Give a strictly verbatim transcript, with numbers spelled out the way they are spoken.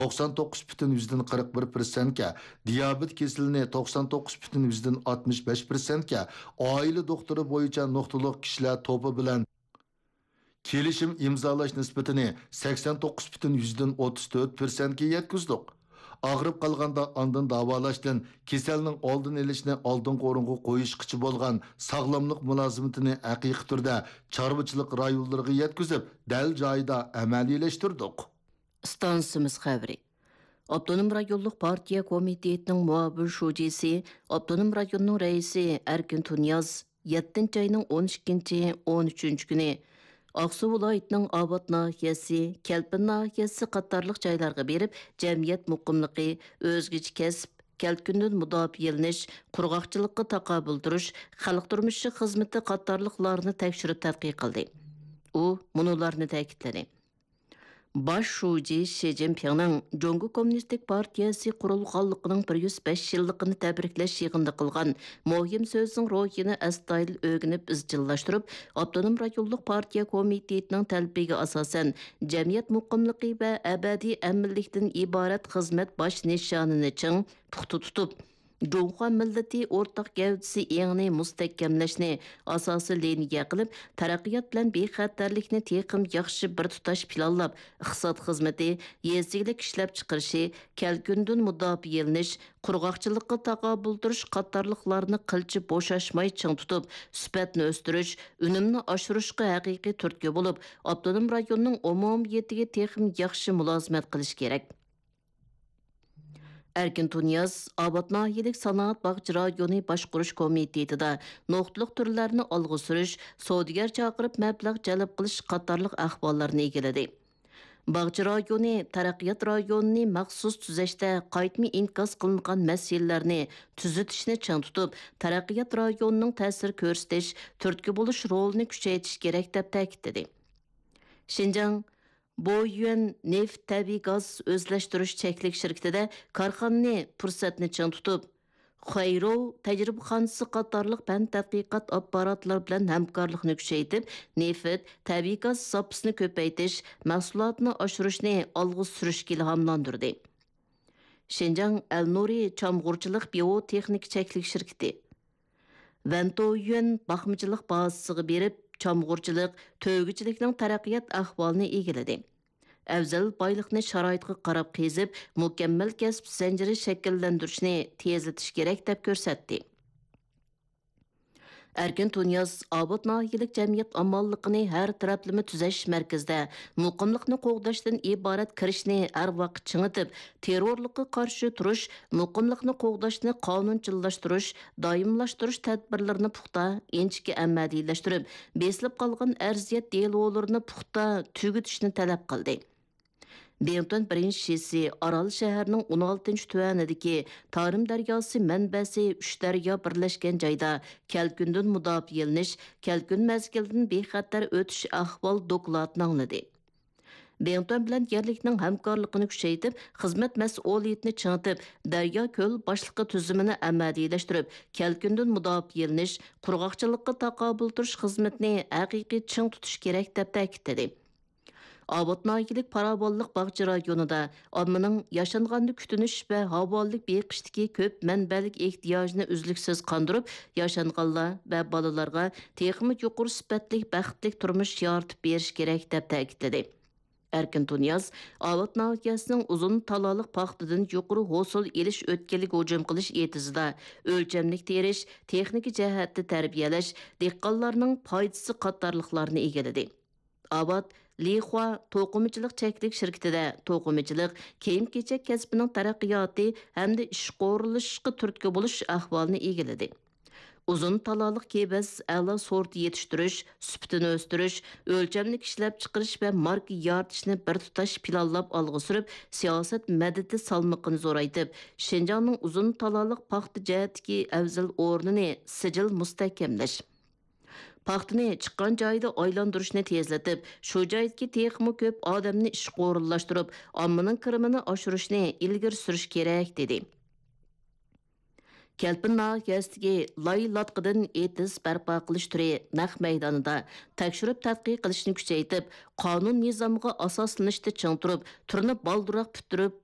توقسان توققۇز پۈتۈن يۈزدىن قىرىق بىر پىرسەنتكە، دىيابېت كېسىلىنى توقسان توققۇز پۈتۈن يۈزدىن ئاتمىش بەش پىرسەنتكە، ئائىلە دوختۇرى بويىچە نۇقتىلىق كىشىلەر توپى بىلەن كېلىشىم ئىمزالاش نىسبىتىنى سەكسەن توققۇز پۈتۈن يۈزدىن ئوتتۇز تۆت پىرسەنتكە يەتكۈزدۇق. ئاغرىپ قالغاندا ئاندىن داۋالاشتىن، كېسەلنىڭ ئالدىنى ئېلىشنى ئالدىنقى ئورۇنغا قويۇشقىچە بولغان ساغلاملىق مۇلازىمىتىنى ھەقىقىي تۈردە چارۋىچىلىق رايونلىرىغا يەتكۈزۈپ، دەل جايىدا ئەمەلىيلەشتۈردۇق. ئىستانسىمىز خەۋىرى. ئاپتونوم رايونلۇق پارتىيە كومىتېتىنىڭ مۇئاۋىن شۇجىسى، ئاپتونوم رايوننىڭ رەئىسى ئەركىن تۇنىياز يەتتىنچى ئاينىڭ ئون ئىككىنچى، ئون ئۈچىنچى كۈنى ئاقسۇ ۋىلايىتىنىڭ ئاۋات ناھىيەسى، كەلپىن ناھىيەسى قاتارلىق جايلارغا بېرىپ، جەمئىيەت مۇقىملىقى، ئۆزگىچە كەسىپ، كەلكۈندىن مۇداپىئەلىنىش، قۇرغاقچىلىققا تاقابىل تۇرۇش، خەلق تۇرمۇشى خىزمىتى قاتارلىقلارنى تەكشۈرۈپ تەتقىق قىلدى. ئۇ مۇنۇلارنى تەكىتلىدى. باش شۇجى شى جىنپىڭنىڭ جۇڭگو كوممۇنىستىك پارتىيەسى قۇرۇلغانلىقىنىڭ بىر يۈز بەش يىللىقىنى تەبرىكلەش يىغىنىدا قىلغان مۇھىم سۆزىنىڭ روھىنى ئەستايىدىل ئۆگىنىپ ئىزچىللاشتۇرۇپ، ئاپتونوم رايونلۇق پارتىيە كومىتېتىنىڭ تەلىپىگە ئاساسەن، جەمئىيەت مۇقىملىقى ۋە ئەبەدىي ئەمىنلىكتىن ئىبارەت خىزمەت باش نىشانىنى چىڭ، پۇختا تۇتۇپ، جۇڭخۇا مىللىتى ئورتاق گەۋدىسى ئېڭىنى مۇستەھكەملەشنى ئاساسىي لىنىيە قىلىپ، تەرەققىيات بىلەن بىخەتەرلىكنى تېخىمۇ ياخشى بىر تۇتاش پىلانلاپ، ئىقتىساد خىزمىتى، يېزا ئىگىلىك ئىشلەپچىقىرىشى، كەلكۈندىن مۇداپىئەلىنىش، قۇرغاقچىلىققا تاقابىل تۇرۇش قاتارلىقلارنى قىلچە بوشاشماي چىڭ تۇتۇپ، سۈپەتنى ئۆستۈرۈش، ئۈنۈمنى ئاشۇرۇشقا ھەقىقىي تۈرتكە بولۇپ، ئاپتونوم رايوننىڭ ئومۇمىيىتىگە تېخىمۇ ياخشى مۇلازىمەت قىلىش كېرەك. ئەركىن تۇنىياز ئاۋات ناھىيەلىك سانائەت باغچە رايونى باشقۇرۇش كومىتېتىدا نۇقتىلىق تۈرلەرنى ئالغا سۈرۈش، سودىگەر چاقىرىپ مەبلەغ جەلپ قىلىش قاتارلىق ئەھۋاللارنى ئىگىلىدى. باغچە رايونى تەرەققىيات رايونىنى مەخسۇس تۈزەشتە قايتما ئىنكاس قىلىنغان مەسىلىلەرنى تۈزىتىشنى چىڭ تۇتۇپ، تەرەققىيات رايونىنىڭ تەسىر كۆرسىتىش، تۈرتكە بولۇش رولىنى كۈچەيتىش كېرەك، دەپ تەكىتلىدى. شىنجاڭ بويۈەن نېفىت تەبىئىي گاز ئۆزلەشتۈرۈش چەكلىك شىركىتىدە كارخانىنى پۇرسەتنى چىڭ تۇتۇپ، خۇەيرو تەجرىبىخانىسى قاتارلىق پەن تەتقىقات ئاپپاراتلىرى بىلەن ھەمكارلىقنى كۈچەيتىپ، نېفىت، تەبىئىي گاز زاپىسىنى كۆپەيتىش، مەھسۇلاتنى ئاشۇرۇشنى ئالغا سۈرۈشكە ئىلھاملاندۇردى. شىنجاڭ ئەلنۇرى چامغۇرچىلىق بىيوتېخنىكا چەكلىك شىركىتى ۋەنتويۈەن باقمىچىلىق بازىسىغا بېرىپ، چامغۇرچىلىق، تۆگىچىلىكنىڭ تەرەققىيات ئەھۋالىنى ئىگىلىدى. ئەۋزەل بايلىقنى شارائىتقا قاراپ قېزىپ، مۇكەممەل كەسىپ زەنجىرى شەكىللەندۈرۈشنى تېزلىتىش كېرەك، دەپ كۆرسەتتى. ئەركىن تۇنىياز ئاۋات ناھىيەلىك جەمئىيەت ئامانلىقىنى ھەر تەرەپلىمە تۈزەش مەركىزىدە مۇقىملىقنى قوغداشتىن ئىبارەت كىرىشنى ھەر ۋاقىت چىڭىتىپ، تېررورلۇققا قارشى تۇرۇش، مۇقىملىقنى قوغداشنى قانۇنچىللاشتۇرۇش، دائىملاشتۇرۇش تەدبىرلىرىنى پۇختا، ئىنچىكە ئەمەلىيلەشتۈرۈپ، بېسىلىپ قالغان ئەرزىيەت دېلولىرىنى پۇختا تۈگىتىشنى تەلەپ قىلدى. بىڭتۈەن بىرىنچى شىسى ئارال شەھىرىنىڭ ئون ئالتىنچى تۈەنىدىكى تارىم دەرياسى مەنبەسى ئۈچ دەريا بىرلەشكەن جايدا كەلكۈندىن مۇداپىئەلىنىش، كەلكۈن مەزگىلىدىن بىخەتەر ئۆتۈش ئەھۋال دوكلاتىنى ئاڭلىدى. بىڭتۈەن بىلەن يەرلىكنىڭ ھەمكارلىقىنى كۈچەيتىپ، خىزمەت مەسئۇلىيىتىنى چىڭىتىپ، دەريا كۆل باشلىقى تۈزۈمىنى ئەمەلىيلەشتۈرۈپ، كەلكۈندىن مۇداپىئەلىنىش، قۇرغاقچىلىققا تاقابىل تۇرۇش خىزمىتىنى ھەقىقىي چىڭ تۇتۇش كېرەك، دەپ تەكىتلىدى. ئاۋات ناھىيەلىك پاراۋانلىق باغچە رايونىدا ئاممىنىڭ ياشانغاننى كۈتۈنۈش ۋە ھاۋالىلىك بېقىشتىكى كۆپ مەنبەلىك ئېھتىياجىنى ئۈزلۈكسىز قاندۇرۇپ، ياشانغانلار ۋە بالىلارغا تېخىمۇ يۇقىرى سۈپەتلىك، بەختلىك تۇرمۇش يارىتىپ بېرىش كېرەك، دەپ تەكىتلىدى. ئەركىن تۇنىياز ئاۋات ناھىيەسىنىڭ ئۇزۇن تالالىق پاختىدىن يۇقىرى ھوسۇل ئېلىش ئۆتكەلگە ھۇجۇم قىلىش ئېتىزىدا ئۆلچەملىك تېرىش، تېخنىكا جەھەتتە تەربىيەلەش، دېھقانلارنىڭ پايدىسى قاتارلىقلارنى ئىگىلىدى. ئاۋات لىخۇا توقۇمىچىلىق چەكلىك شىركىتىدە توقۇمىچىلىق، كىيىم-كېچەك كەسپىنىڭ تەرەققىياتى ھەمدە ئىشقا ئورۇنلىشىشقا تۈرتكە بولۇش ئەھۋالىنى ئىگىلىدى. ئۇزۇن تالالىق كېۋەز ئەلا سورتى يېتىشتۈرۈش، سۈپىتىنى ئۆستۈرۈش، ئۆلچەملىك ئىشلەپچىقىرىش ۋە ماركا يارىتىشنى بىر تۇتاش پىلانلاپ ئالغا سۈرۈپ، سىياسەت مەدىتى سالمىقىنى زورايتىپ، شىنجاڭنىڭ ئۇزۇن تالالىق پاختا جەھەتتىكى ئەۋزەل ئورنىنى سىجىل مۇستەھكەملەش. پاختىنى چىققان جايىدا ئايلاندۇرۇشنى تېزلىتىپ، شۇ جايدىكى تېخىمۇ كۆپ ئادەمنى ئىشقا ئورۇنلاشتۇرۇپ، ئاممىنىڭ كىرىمىنى ئاشۇرۇشنى ئىلگىرى سۈرۈش كېرەك، دېدى. كەلپىن ناھىيەسىدىكى لاي لاتقىدىن ئېتىز بەرپا قىلىش تۈرى نەق مەيدانىدا تەكشۈرۈپ تەتقىق قىلىشنى كۈچەيتىپ، قانۇن نىزامغا ئاساسلىنىشتا چىڭ تۇرۇپ، تۈرنى بالدۇرراق پۈتتۈرۈپ،